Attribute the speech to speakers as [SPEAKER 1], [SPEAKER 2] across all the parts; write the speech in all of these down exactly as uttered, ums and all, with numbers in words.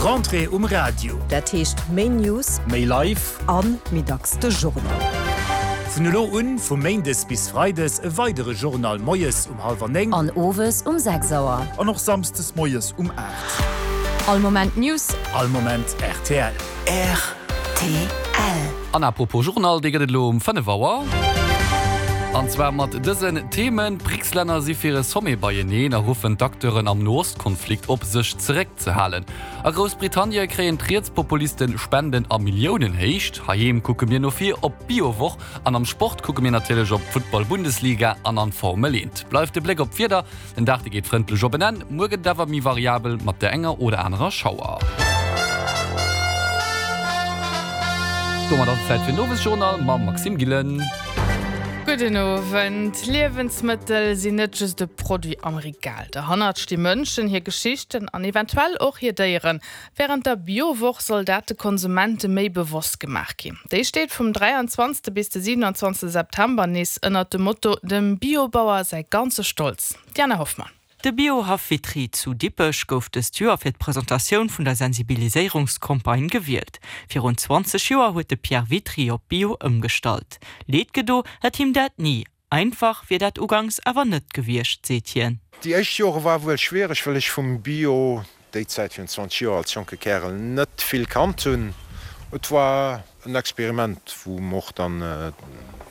[SPEAKER 1] Rentrée um Radio.
[SPEAKER 2] Dat heescht méi News,
[SPEAKER 1] Méi live.
[SPEAKER 2] An méi dacks de Journal.
[SPEAKER 1] Vun elo un, vu Méindes bis Freides, e weidere Journal moies um hallwer néng.
[SPEAKER 3] An owes um sechs Auer.
[SPEAKER 4] An och samsdes moies um aacht.
[SPEAKER 3] All Moment News.
[SPEAKER 1] All Moment rtl.
[SPEAKER 3] Rtl.
[SPEAKER 5] An apropos Journal, dee gëtt et elo um fënnef Auer. An zwar mat dësen Themen, D'Brics-Länner si fir e Sommet beieneen a ruffen d'Acteuren am Noost-Konflikt op, sech zeréckzehalen. A Groussbritannie kréien d'Rietspopuliste Spenden a Milliounenhéicht. Heiheem kucke mir no vir op d'Biowoch an am Sport kucke mir natierlech op d'Futtball-Bundesliga an an d'Formel eent. Bleift de Bléck op d'Wieder, Den Dag dee geet frëndlech op en Enn, muer gëtt et awer méi variabel mat der enger oder anerer Schauer. Domat ass et Zäit fir den Owesjournal mam Maxime Gillen.
[SPEAKER 6] Gudden Owend. Liewensmëttel sinn net just e Produit am Regal. Derhannert sti Mënschen, hir Geschichten an eventuell och hir Déieren. Wärend der Bio-Woch soll dat de Konsumente méi bewosst gemaach ginn. Déi steet vum dräianzwanzegste bis de siewenundzwanzegste September nees ënnert dem Motto Dem Biobauer säi ganze Stolz. D'Diana Hoffmann.
[SPEAKER 7] De Biohaff Witry zu Dippech gouf dëst Joer fir d'Presentatioun vun der Sensibiliséierungscampagne gewielt. Virun zwanzeg Joer huet de Pierre Witry op Bio ëmgestallt. Leed gedo hätt him dat ni. Einfach wier dat uganks awer net gewiescht, seet hien.
[SPEAKER 8] Déi éischt Jore war wuel schwiereg, well ech vum Bio déi Zäit virun zwanzeg Joer als jonke Kärel net vill kannt hunn. Et war en Experiment, wou mer och dann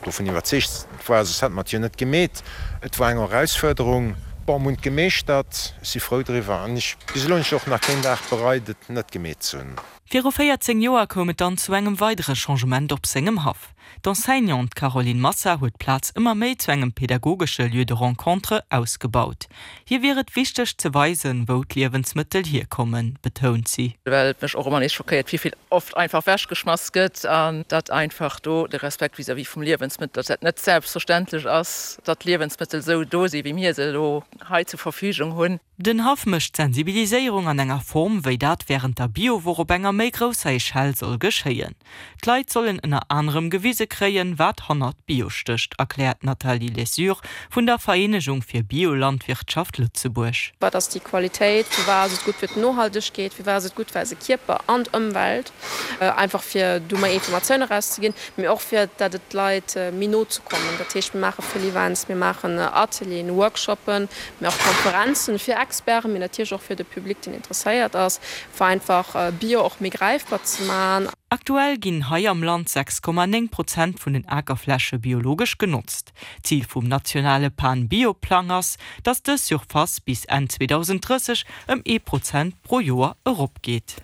[SPEAKER 8] dovun iwwerzeegt war, soss hätte mer et jo net gemeet. Et war eng Erausfuerderung. Bon, mer hunn et gemeeschtert, ech si frou driwwer an ech, bis elo hunn ech och nach keen Dag bereit, et net gemeet ze hunn.
[SPEAKER 7] Viru véierzéng Joer koum et dann zu engem weidere Changement op sengem Haff. D'Enseignante Caroline Massa huet d'Plaz ëmmer méi zu engem pedagogesche Lieu de rencontre ausgebaut. Hir wier et wichteg ze weisen, wou d'Liewensmëttel hierkommen, betount si.
[SPEAKER 9] Well et mech och ëmmer nees schockéiert, wéi vill oft einfach wechgeschmass gëtt an datt einfach do de Respekt vis-à-vis vum Liewensmëttel, datt dat net selbstverständlech ass, datt d'Liewensmëttel esou do si wéi mir se elo hei zur Verfügung hunn.
[SPEAKER 7] Den Haff mécht d'Sensibiliséierung an enger Form, wéi dat wärend der Biowoch op enger méi grousser Echelle soll geschéien. D'Leit sollen ënner anerem gewise kréien, wat hannert Bio stécht, erkläert d'Nathalie Lesure vun der Vereenegung fir Biolandwirtschaft Lëtzebuerg.
[SPEAKER 10] Wat ass déi Qualitéit? Firwat ass et gutt fir d'Nohaltegkeet? Firwat ass et gutt fir eise Kierper an d'Ëmwelt? Einfach fir do méi Informatioun erauszeginn, mee och fir dat et d'Leit méi no ze kommen. Dat heescht, mir maache vill Events, mir maachen Atelieren, Workshoppen, mee och Konferenzen fir Experten, mee natierlech och fir de Public, deen interesséiert ass, fir einfach Bio och méi gräifbar ze maachen.
[SPEAKER 7] Aktuell ginn hei am Land sechs Komma néng Prozent vun den Akerfläche biologesch genotzt. Zil vum nationale Pan-Bio-Plang ass, datt dës Surface bis Enn zweedausenddrësseg ëm ee Prozent pro Joer eropgeet.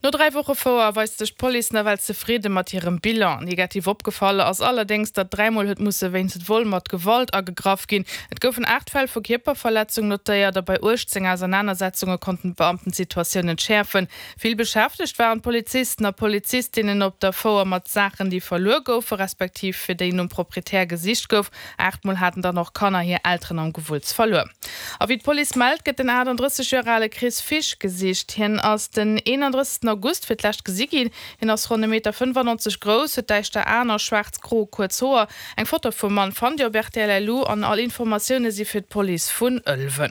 [SPEAKER 6] No dräi Woche Fouer weist sech d'Police nawell zefridde mat hirem Bilan. Negativ opgefall ass allerdéngs, datt dräimol huet musse wéinst Vol mat Gewalt agegraff ginn. Et goufen aacht Fäll vu Kierperverletzung notéiert a bei uechtzéng Ausernanersetzunge konnten d'Beamten d'Situatioun entschäerfen. Vill beschäftegt waren d'Polizisten a Polizistinnen op der Fouer mat Saachen, déi verluer goufe respektiv fir déi nom Proprietär gesicht gouf. Aacht Mol haten dann och Kanner hir Elteren am Gewulls verluer. A wéi d'Police mellt, gëtt den aachtanddrësseg Joer ale Chris Fisch gesicht. Hien ass den eenanddrëssegsten August fir d'lescht gesi ginn. Hien ass ronn e Meter fënnefannonzeg grouss, huet däischter Aen a schwaarz-gro kuerz Hoer. Eng Foto vum Mann fannt Dir op rtl. Lu an all Informatioune si fir d'Police vun Ëlwen.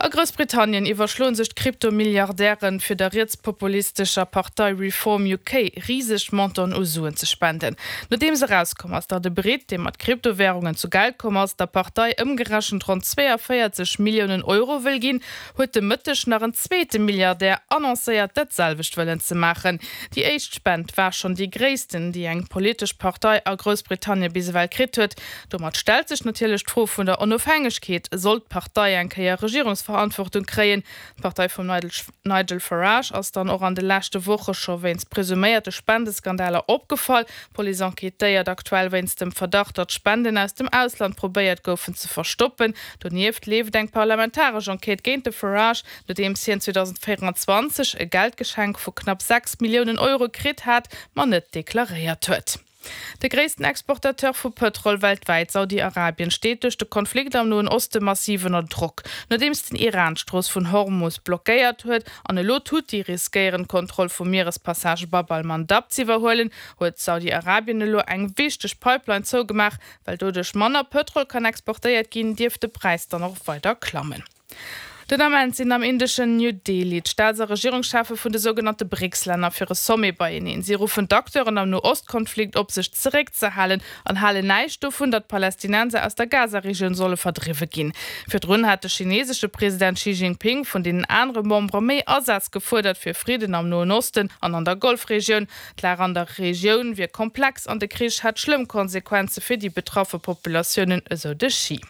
[SPEAKER 6] A Groussbritannien iwwerschloen sech d'Krypto-Milliardären, fir der rietspopulistescher Partei Reform U K riseg Montanten u Suen ze spenden. Nodeems erauskomm ass, datt e Britt, dee mat Kryptowärungen zu Geld komm ass, der Partei ëmgerechent ronn zweeënvéierzeg Milliounen Euro wëll ginn, huet de Mëtteg nach en zweete Milliardär annoncéiert, dat selwecht wëllen ze maachen. Déi éischt Spend war schonn déi gréissten, déi eng politesch Partei a Groussbritannien bis ewell kritt huet. Domat stellt sech natierlech d'Fro vun der Onofhängegkeet, sollt d'Partei eng Kéier Regierungsverantwortung kréien. D'Partei vum Nigel Farage ass dann och an de leschte Woche scho wéinst presuméierte Spendeskandaler opgefall. D'Police enquêtéiert aktuell wéinst dem Verdacht, datt Spenden aus dem Ausland probéiert goufen ze verstoppen. Donieft leeft eng parlamentaresch Enquête géint de Farage, nodeems hien zweedausendvéieranzwanzeg e Geldgeschenk vu knapp sechs Milliounen Euro kritt hat, ma net deklaréiert huet. De gréissten Exportateur vu Pëtrol weltwäit, Saudi-Arabien, steet duerch de Konflikt am Noen Oste massiv ënner Drock. Nodeems den Iran d'Strooss vun Hormus blockéiert huet an elo d'Huthi riskéieren, d'Kontroll vum Mierespassage Bab al-Mandab z'iwwerhuelen, huet Saudi-Arabien elo eng wichteg Pipeline zougemaach. Well doduerch manner Pëtrol kann exportéiert ginn, dierft de Präis dann och weider klammen. Den Ament sinn am indeschen New Delhi d'Staats a Regierungscheffe vun de sougenannte BRICS-Länner fir e Sommet beieneen. Si ruffen d'Acteuren am No-Ost-Konflikt op, sech zeréckzehalen an halen näischt dovun, datt Palästinenser aus der Gaza-Regioun solle verdriwwe ginn. Virdrun hat de chinesesche President Xi Jinping vun deenen anere Membere méi Asaz gefuerdert fir Fridden am Noen Osten an an der Golfregioun. D'Lag an der Regioun wier komplex an de Krich hätt schlëmm Konsequenze fir déi betraffe Populatiounen, esou de Xi.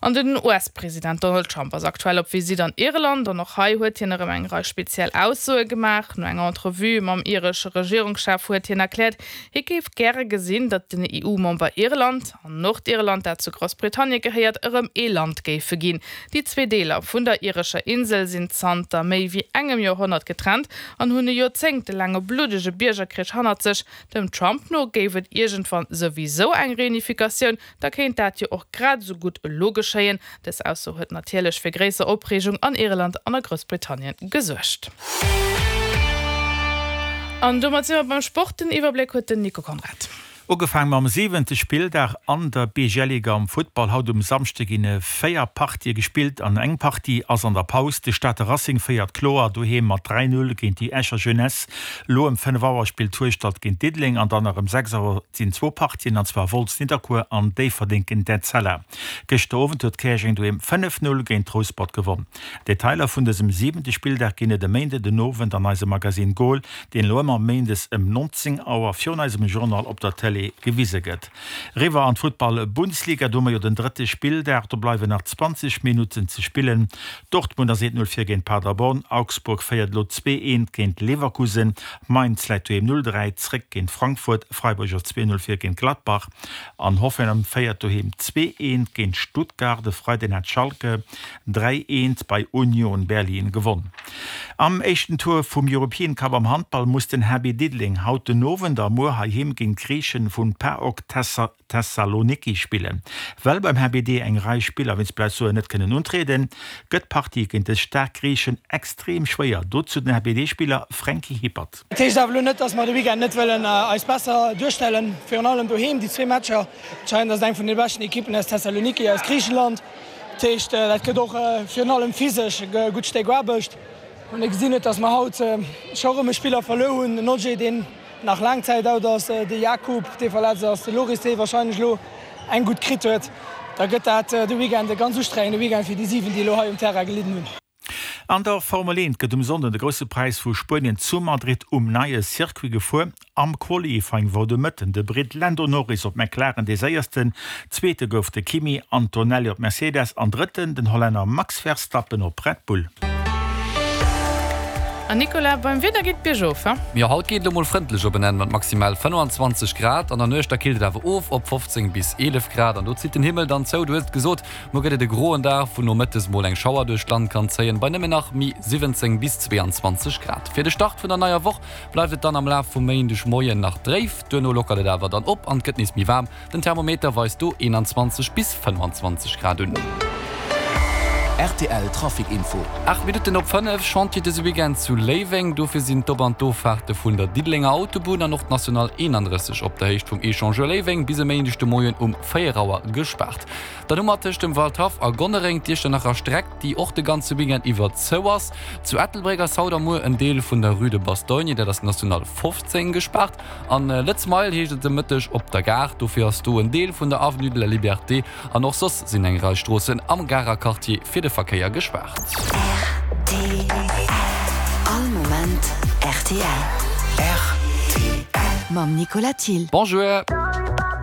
[SPEAKER 6] An den US-President Donald Trump ass aktuell op Visitt an Irland an och hei huet hien erëm eng Rei speziell Aussoe gemaach. No enger Entrevue mam iresche Regierungschef huet hien erkläert, hie géif gäre gesinn, datt den EU-Member Irland an Nordirland, dat zu Groussbritannien gehéiert, erëm ee Land géife ginn. Déi zwee Deeler vun der irescher Insel sinn zanter méi wéi engem Joerhonnert getrennt an hunn e joerzéngtelaange bluddege Biergerkrich hannert sech. Dem Trump no géif et iergendwann souwisou eng Reunifikatioun, da kéint dat jo och grad esou gutt elo geschéien. Dës Ausso huet natierlech fir gréisser Opreegung an Irland an a Groussbritannien gesuergt. An domat si mer beim Sport, den Iwwerbléck huet den Nico Conrad.
[SPEAKER 11] Ugefaang mam siwente Spilldag an der B G L Liga am Futtball. Haut um Samschde ginn véier Partië gespillt an eng Partie ass an der Paus. De Stater Racing féiert kloer doheem mat dräi Null géint déi Escher Jeunesse. Elo ëm fënnef Auer spillt Hueschtert géint Diddeleng an dann nach ëm sechs Auer sinn zwou Partien, an zwar Wolz-Nidderkuer an Déifferdeng géint Etzella. Gëschter Owend huet Käerjeng doheem fënnef Null géint Rouspert gewonn. Detailer vun dësem siwente Spilldag ginn et e Méinde den Owend an eisem Magazine Goal, deen elo ëmmer méindes ëm neunzéng Auer virun eisem Journal op der Tëlee gewise gëtt. Eriwwer an d'Futtball-Bundesliga, do hu mer jo den drëtte Spilldag, do bleiwen nach zwanzeg Minutten ze spillen. Dortmund ass eent Null vir géint Paderborn, Augsburg féiert elo zwee eent géint Leverkusen, Mainz läit doheem null dräi zréck géint Frankfurt, Freiburg ass zwee Null vir géint Gladbach an Hoffenheim féiert doheem zwee eent géint Stuttgart. E Freiden hat Schalke dräi eent bei Union Berlin gewonn. Am éischten Tour vum European Cup am Handball muss den H B Diddeleng haut den Owend a muer heiheem géint d'Griichen vun PAOK Thessaloniki spillen. Well beim H B D eng Rei Spiller wéinst Blessuren net kënnen untrieden, gëtt d'Partie géint dës staark Griichen extrem schwéier. Dozou den H B D-Spiller Franky Hippert.
[SPEAKER 12] Dat heescht awer elo net, dass mer de Weekend net wëllen eis besser duerstellen, virun allem doheem déi zwee Matcher. Anscheinend ass et eng vun de beschten Ekippen aus Thessaloniki, aus Griichenland. Dat heescht, dat gëtt och virun allem physesch e gutt Stéck Aarbecht. Wann ee gesinn huet, dass mer haut scho erëm e Spiller verluer hunn, den Oje, deen nach laang Zäit out ass, de Jakub, dee verletzt ass, de Loris, dee warscheinlech elo eng gutt kritt huet, da gëtt dat de Weekend e ganz ustrengende Weekend fir déi siwen, déi elo hei um Terrain gelidden hunn.
[SPEAKER 11] An der Formel eent gëtt um Sonnden de Grousse Präis vu Spuenien zu Madrid um neie Circuit gefuer. Am Qualifying wor de Mëtten de Britt Lando Norris op McLaren dee Séiersten, Zweete gouf de Kimi Antonelli op Mercedes an Drëtten den Hollänner Max Verstappen op Red Bull.
[SPEAKER 6] An Nicolas, beim Wieder geet et biergof, he?
[SPEAKER 5] Jo, haut geet et elo mol frëndlech op en Enn mat maximal fënnfanzwanzeg Grad. An der Nuecht da killt et awer of op fofzéng bis eelef Grad an do zitt den Himmel dann zou. Du hues et gesot, muer gëtt et e groen Dag, wou nomëttes mol eng Schauer duerch d'Land kann zéien, bei nëmmen nach méi siwwenzéng bis zweeanzwanzeg Grad. Fir de Start vun der neier Woch bleift et dann am Laf vum Méindeg Moien nach dréif, duerno lockert et awer dann op an et gëtt nees méi waarm. Den Thermometer weist do eenanzwanzeg bis fënnefanzwanzeg Grad un.
[SPEAKER 13] Rtl Trafic Info.
[SPEAKER 5] Aacht Minutten op fënnef, Chantier dëse Weekend zu Léiweng. Dofir sinn d'Op an d'Offaarte vun der Diddelenger Autobunn an och d'National eenanddrësseg op der Héicht vum Echangeur Léiweng bis e Méindeg de Moien um véier Auer gespaart. Dann hu mer tëscht dem Waldhaff a Gonnereng d'Iechternacher Streck, déi och de ganze Weekend iwwer zou ass. Zu Ettelbréck ass haut a muer en Deel vun der Rue de Bastogne, dat ass d'National fofzéng, gespaart. An Lëtz Mile heescht et de Mëtteg op der Gare. Dofir ass do en Deel vun der Avenue de la Liberté an och soss sinn eng Rei Stroossen am Garer Quartier fir de Verkéier gespaart.
[SPEAKER 14] Rtl, All Moment rtl. Rtl. Mam Nicolas Thill.
[SPEAKER 5] Bonjour.